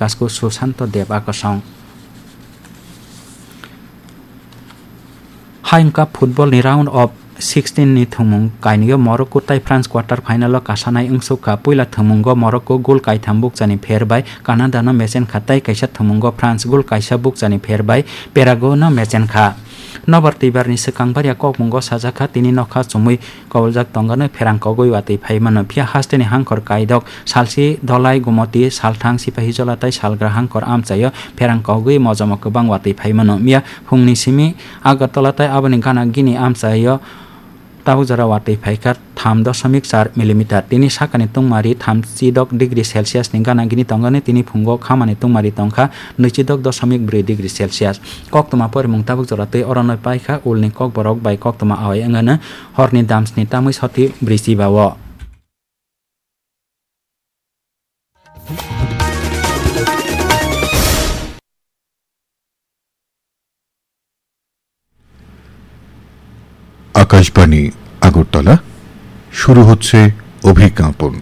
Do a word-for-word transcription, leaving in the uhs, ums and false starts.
Kasku Susanto Deb Akosong. Hayung Cup football ni round of sixteen ni thwngmung kainwio Morocco tai France quarter final o kasanai wngsukha. Puila thwngmungo Morocco goal kaitham bukchani pher bai Canada no mechenkha, tai kaisa thwngmungo France goal kaisa bukchani pher bai Paraguay no mechenkha. Nobar twibar ni swkang baria kokmungo sajakha, tini nokha chumui koboljak tongano pherang kogwi watwi phai mano. Phiya hasteni hangkhor kaidok salsi Dolai Gumoti, salthang Sipahijola tai salgra hangkhor amchaio pherang kogwi mojamo kwbang watwi phai mano. Miya phungni simi Agartala tai aboni gana gini amchaio tabuk jora watwi phaikha tham doshomik char millimeter. Tini sakani tungmari thamchidok degree Celsius ni gana gini tongani, tini phungo khamani tungmari tongkha nwichidok doshomik bwrwi degree Celsius. Koktwma porimung tabuk jora twi oro noi paikha, ulni kokborok bai koktwma awai wngano horni damsni tamwi soti brwi chiba-o. Akashvani আগরতলা, শুরু হচ্ছে অভিজ্ঞাপন।